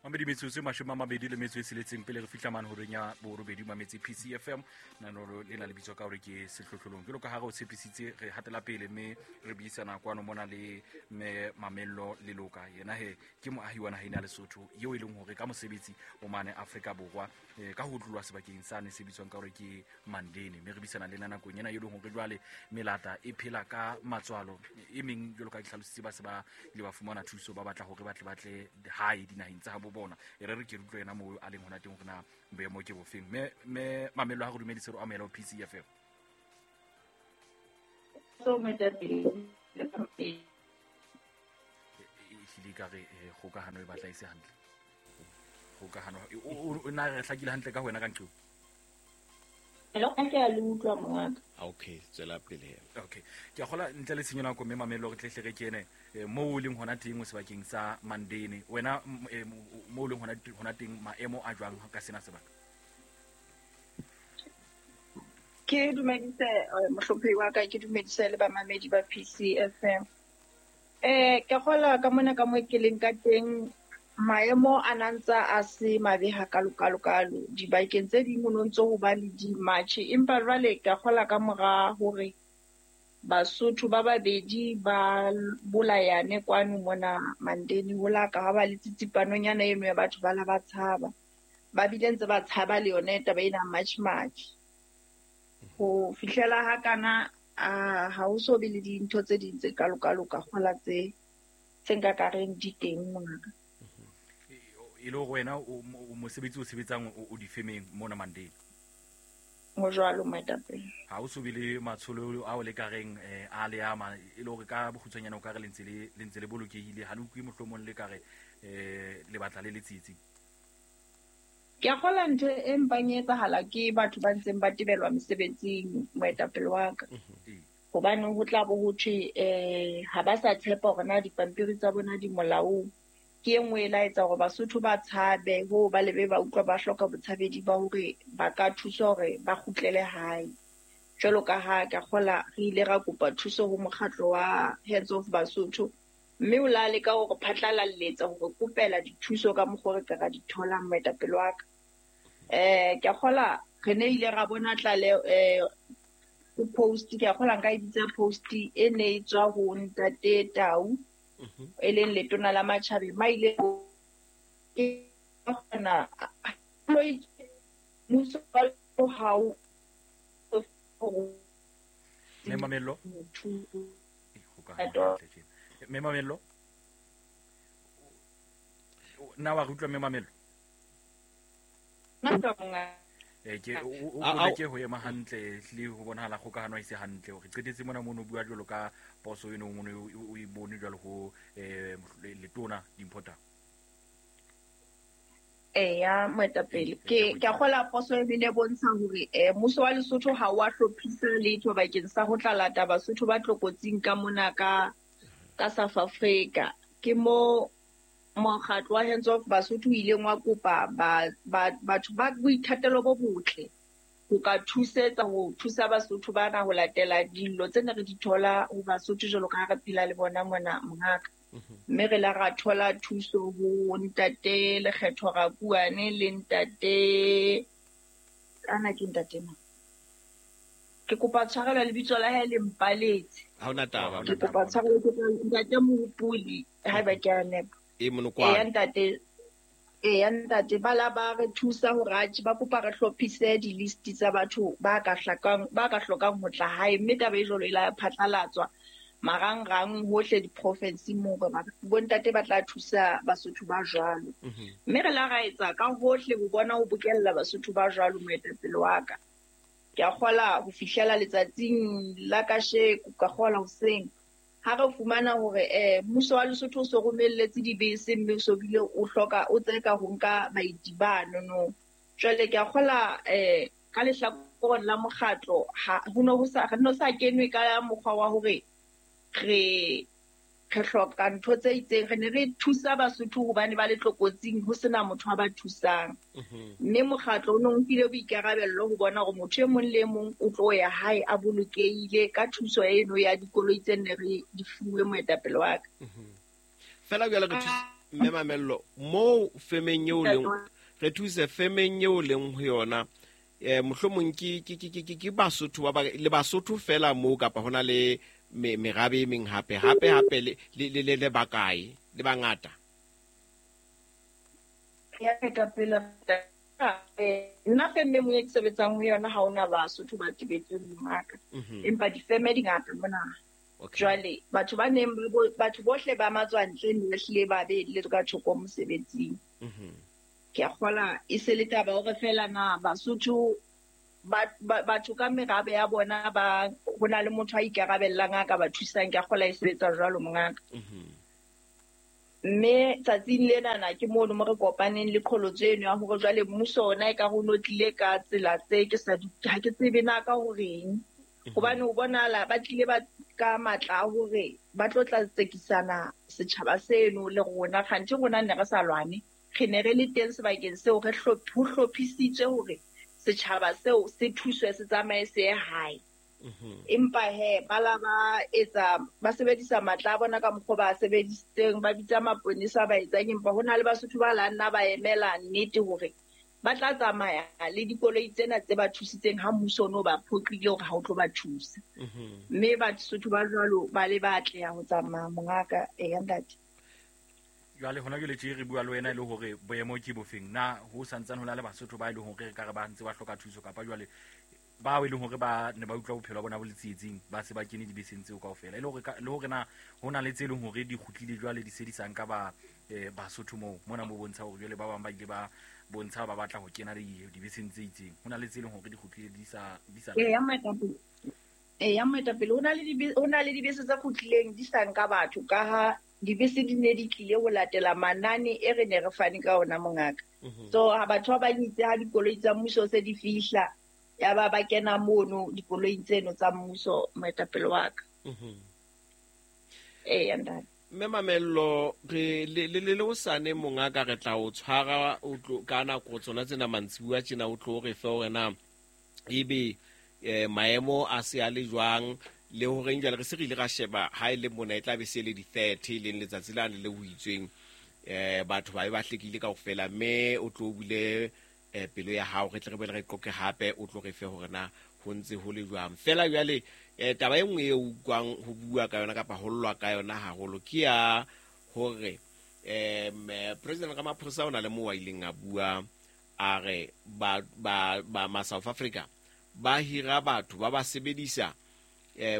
Mamedi metsotso e 26 pele re fihla mane horeng ya borobedi mametse PCFM. Nanolo le na le bitswa ka hore ke sehlohlolong. Jwalo ka ha re o tshepisitse, re hatela pele mme re buisana kwano mona le mme Mamello Leloka. Yena he ke moahi wa naheng ya Lesotho eo e leng hore ka mosebetsi o mane Afrika Borwa, ka ho tlolwa sebakeng sane se bitswang ka hore ke Mandeni. Mme re buisana le ena nakong ena e leng hore jwale melata e phela ka matswalo e meng, jwalo ka ditlhalositse, ba se ba ile ba fumana thuso, ba batla hore ba tle ba tle hae dinaheng tsa habo bona. E re re ke re utlwe yena moo a leng hona teng hore na boemo ke bofeng. Mme Mamello, ha re dumedise, re amohela ho PCFM. Ehlile ka re kgokahano e batla e se hantle. Kgokahano o na re hlakile hantle ka ho wena ka nqeo? Hello, ke a le utlwa mongaka. Okay, tswela pele. Okay. Ke a kgola ntle le tshenyo nako mme Mamello re tle hle re kene moo o leng hona teng o sebakeng sa Mandeni. Wena moo o leng hona teng maemo a jwang ka sena sebaka? Ke dumedise mohlomphehi wa ka, ke dumedise le bamamedi ba PCFM. Ke kgola ka mona ka mo ke leng ka teng, maemo a na ntsa a se mabe hakalo-kalo-kalo. Dibakeng tse ding ho no ntso ho ba le di-march, empa jwale ke kgola ka mora hore Basotho ba babedi ba bolayane kwano mona Mandeni, ho la ka ha ba le tsitsipanonyana eno ya batho ba la ba tshaba. Ba bile ntse ba tshaba le yone taba ena march-march. Ho fihlela ha kana, ha ho so be le dintho tse ding tse kalo-kalo ka kgola tse nka ka reng di teng mongaka. E le hore wena o mosebetsi o sebetsang o difemeng mona Mandeni? Ho jwalo, moetapele. Ha o so be le matsholo ao le ka reng a le ama, e le hore ka bokgutshwanyane o ka re le ntse le bolokehile, ha le utlwe mohlomong le ka re le batla le le tsietsing? Ke a kgola ntho e mpang e etsahala ke batho ba ntseng ba tebelwa mesebetsing, moetapele wa ka. Hobane ho tla bo ho thwe ha ba sa tshepa hore na dipampiri tsa bona di molaong. Ke e nngwe e la etsa hore Basotho ba tshabe, hoo ba lebe ba utlwa ba hloka botshabedi ba hore ba ka thuswa hore ba kgutlele hae. Jwalo ka ha ke a kgola re ile ra kopa thuso ho mokgatlo wa Hands Off Basotho, mme o la leka hore phatlalalletsa hore kopela dithuso ka mokgwa re ka ra di tholang, moetapele wa ka. Ke a kgola re ne ile ra bona tlaleho post, ke a kgola nka e bitsa post e ne e tswa ho Ntate Tau, e leng letona la matjhabeng, ma ile ke kgona mmuso wa hao. Mme Mamello? Mme Mamello? Na wa re utlwa Mme Mamello? Ke o ke ho ema hantle le ho bonahala kgokahano e se hantle. Re qetetse mona mono bua jwalo ka poso eno mono o e bone jwalo ho letona Dimpho Tau. Eya moetapele, ke a kgola poso e bile bontsha hore mmuso wa Lesotho ha wa hlophisa letho bakeng sa ho tla lata Basotho ba tlokotsing ka mona ka South Africa. Ke mo mokgatlo wa Hands Off Basotho o ileng wa kopa batho ba boithatelo bo botle ho ka thusetsa ho thusa Basotho bana ho latela dillo tse ne re di thola ho Basotho jwalo ka ha re phela le bona mona mongaka. Mme re la ra thola thuso ho Ntate Lekgetho Rakuane le Ntate ana ke Ntate mang? Ke kopa tshwarelo lebitso la hae le mpaletse. Ha hona taba. Ke kopa tshwarelo ke Ntate Mohopoli haeba ke a nepa. E monokwane. Eya ntate. Eya ntate, ba la ba re thusa hore atjhe ba kopa re hlophise di-list tsa batho ba ka hlokang ho tla hae, mme taba e jwalo e la phatlalatswa marangrang hohle di-province moo bontate ba tla thusa Basotho ba jwalo. Mme re la ra etsa ka hohle ho bona ho bokella Basotho ba jwalo, moetapele wa ka. Ke a kgola ho fihlela letsatsing la kasheko, ka kgola hoseng ha re fumana hore mmuso wa Lesotho o so romelletse dibese mme o so bile o hloka o tseka ho nka baeti bano no. Jwale ke a kgola ka lehlakoreng la mokgatlo ha ho no ho sa re no sa kenwe ka mokgwa wa hore re hloka ntho tse itseng. Re ne re thusa Basotho hobane ba le tlokotsing ho sena motho a ba thusang. Mme mokgatlo o no nkile boikarabello ho bona hore motho e mong le e mong o tlo ya hae a bolokehile ka thuso eno ya dikoloi tse ne re di fuwe, moetapele wa ka. Fela jwale re thusa. Mme Mamello, moo femeng eo leng, re thuse femeng eo leng ho yona, mohlomong ke Basotho ba le Basotho fela moo, kapa hona le merabe e meng hape hape le bakae le bangata? Ya moetapele, nna feme e ke sebetsang ho yona ha hona Basotho ba tebetseng mongaka, empa difeme di ngata mona. Jwale batho ba neng batho bohle ba matswantle ne ba hlile ba be le ka thoko mosebetsing. Ke a kgola e se le taba hore fela na Basotho batho ka merabe ya bona ba ho na le motho a ikarabellang a ka ba thusang. Ke a kgola e sebetsa jwalo mongaka. Mme tsatsing lenana ke mono mo re kopaneng le qholotso eno ya hore jwale mmuso ona e ka re o no tlile ka tsela tse ke sa ha ke tsebe na ka horeng. Hobane o bonahala ba tlile ba ka matla a hore ba tlo tla tsekisana setjhaba seno le rona. Kganthe rona ne re sa lwane, re ne re le teng sebakeng seo, re ho hlophisitswe hore setjhaba seo se thuswe se tsamaye se ye hae. Empa he ba la ba etsa, ba sebedisa matla a bona ka mokgwa ba sebedisitseng, ba bitsa maponesa ba etsang, empa ho na le Basotho ba la nna ba emela nnete hore ba tla tsamaya le dikoloi tsena tse ba thusitseng ha mmuso ono ba phoqile hore ha o tlo ba thusa. Mme Basotho ba jwalo ba le ba atleha ho tsamaya mongaka. Eya ntate. Jwale hona jwale tje re bua le wena e le hore boemo ke bofeng? Na ho santsane ho na le Basotho ba e leng hore re ka re ba ntse ba hloka thuso, kapa jwale bao e leng hore ba ne ba utlwa bophelo ba bona bo le tsietsing ba se ba kene dibeseng tseo kaofela? E le hore le hore na ho na le tse leng hore di kgutlile jwale di se di sa nka ba Basotho moo mona mo bontsha hore jwale ba bang ba ile ba bontsha ba batla ho kena dibeseng tse itseng. Ho na le tse leng hore di kgutlile di sa Eya moetapele. Eya moetapele, ho na le dibese tse kgutlileng di sa nka batho, ka ha dibese di ne di tlile ho latela manane e re ne re fane ka ona mongaka. So ha batho ba bang itse ha dikoloi tsa mmuso se di fihla, ya ba ba kena mono dikoloing tseno tsa mmuso moetapele wa ka. Eya ntate. Mme Mamello, re le hosane mongaka re tla o tshwara o tlo ka nako tsona tsena mantsibuya tjena, o tlo re fe hore na ebe maemo a se a le jwang, le horeng jwale re se re ile ra sheba ha e le mona e tla be se le di-30 e leng letsatsi lane le ho itsweng, batho ba be ba hlekile kaofela, mme o tlo bule pelo ya hao, re tle re boele re qoqe hape, o tlo re fe hore na ho ntse ho le jwang. Fela jwale taba e nngwe e utlwang ho bua ka yona kapa ho llwa ka yona haholo ke ya hore President Ramaphosa o na le moo a ileng a bua a re ba ma South Africa ba hira batho ba ba sebedisa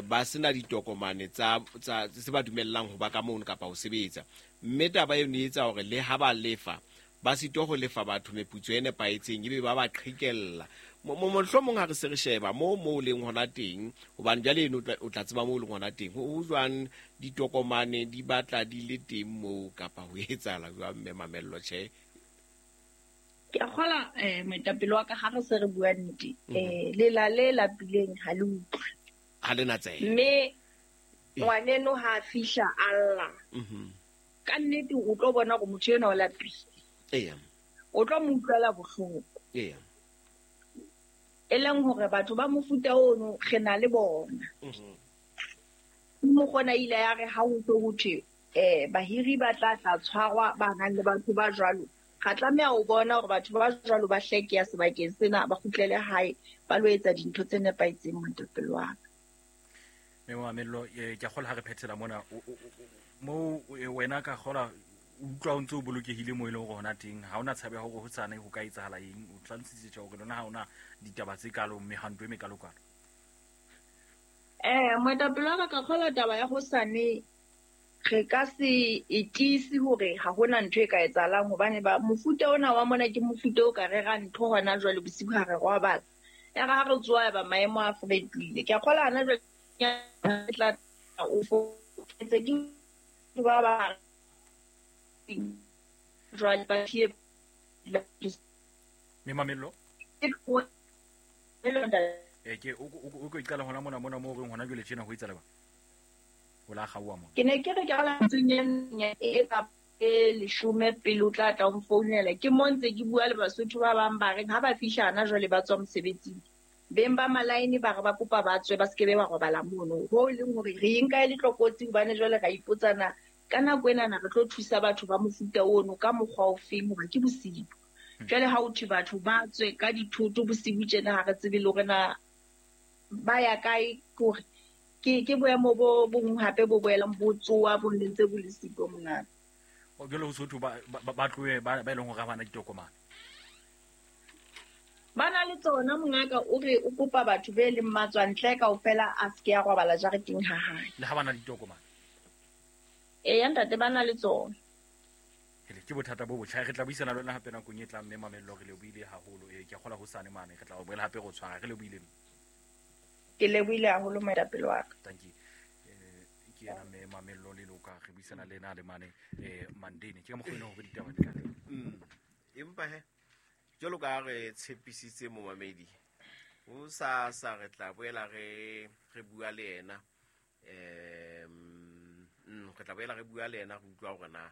ba sena ditokomane tsa tse ba dumellang ho ba ka mono kapa ho sebetsa, mme taba eno e etsa hore le ha ba lefa ba sitwa ho lefa batho meputso e nepahetseng, ebe ba ba qhekella. Mohlomong ha re se re sheba moo leng hona teng, hobane jwale eno o tla tseba moo leng hona teng, ho jwang ditokomane di batla di le teng moo kapa ho etsahala jwang? Mme Mamello, tjhe. Ke a kgola moetapele wa ka, ha re se re bua nnete, lela le lapileng ha le utlwe. Ha le na tsebe. Mme ngwaneno ha a fihla a lla. Ka nnete o tlo bona hore motho enwa o lapile. O tlo mo utlwela bohloko. E leng hore batho ba mofuta ono re na le bona. Mokgona ile ya re ha ho tlo ho thwe bahiri ba tla tla tshwarwa ba nang le batho ba jwalo, ra tlameha ho bona hore batho ba jwalo ba hlekeya sebakeng sena, ba kgutlele hae ba lo etsa dintho tse nepahetseng moetapele wa ka. Mme Mamello, ke a kgolwa ha re phethela mona, moo wena ka kgolwa o utlwa o ntse o bolokehile moo e leng hore hona teng ha hona tshabo ya hore hosane ho ka etsahala eng. O hlalositse tjhe hore lona ha hona ditaba tse kalo mehwanto e mekalokalo. Moetapele wa ka, ka kgolwa taba ya hosane re ka se e tiise hore ha hona ntho e ka etsahalang, hobane ba mofuta ona wa mona ke mofuta o ka rerang ntho hona jwale bosiu ha re robala. Ya re ha re tsoha ya ba maemo a fetohile. Ke a kgolwa hana jwale ke tla o fokotse ke ba ba jwale ba fie Mme Mamello? Ke o ko iqala hona mona moo reng hona jwale tjena ho etsahala ba? O la kgaoha mona. Ke ne ke re ke ala ntseng e ka e leshome pele o tla tla o mfounela. Ke mo ntse ke bua le Basotho ba bang ba reng ha ba fihla hana jwale ba tswa mosebetsing. Beng ba malaene ba re ba kopa ba tswe ba se ke be ba robala mono. Ho e leng hore re e nka e le tlokotsi hobane jwale ra ipotsana Ka nako enana re tlo thusa batho ba mofuta ono ka mokgwa ofeng, hoba ke bosibu. Jwale ha o thwe batho ba tswe ka dithoto bosibu tjena, ha re tsebe le hore na ba ya kae, ke hore ke boemo bo bong hape bo boelang bo tsoa bo ntse bo le siko mongaka. O jwale ho sotho ba tlohe ba e leng hore ha bana ditokomane. Ba na le tsona mongaka, o re o kopa batho be leng matswantle kaofela a se ke a robala jareteng ha hae. Le ha bana ditokomane. Eya ntate, ba na le tsona. Hele, ke bothata bo botjha. Re tla buisana le wena hape nakong e tlang, mme Mamello re lebohile haholo. Ke a kgolwa hosane mane re tla o boela hape re o tshwara. Re lebohile. Ke lebohile haholo moetapele wa ka. Thank you. Ke yena mme Mamello Leloka, re buisana le ena le mane Mandeni. Ke ka mokgwa o leng hore ditaba di tla teng. Empa he, jwalo ka ha re tshepisitse momamedi, ho sa sa re tla boela re bua le yena. Re tla boela re bua le yena, re utlwa hore na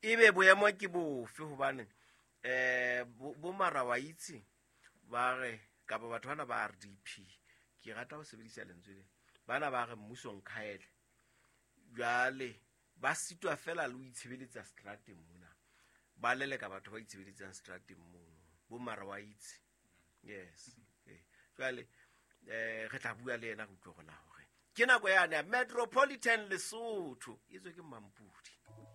ebe boemo ke bofe, hobane bo mara wa itse ba re kapa batho bana ba RDP, ke rata ho sebedisa lentswe le, bana ba re mmuso nkhaele. Jwale ba sitwa fela le ho itshebeletsa strateng mona, ba leleka batho ba itshebeletsang strateng mono, bo mara wa itse. Yes. Jwale re tla bua le yena re utlwe hore na hore ke nako yane ya Metropolitan Lesotho e tswe ke Mampudi.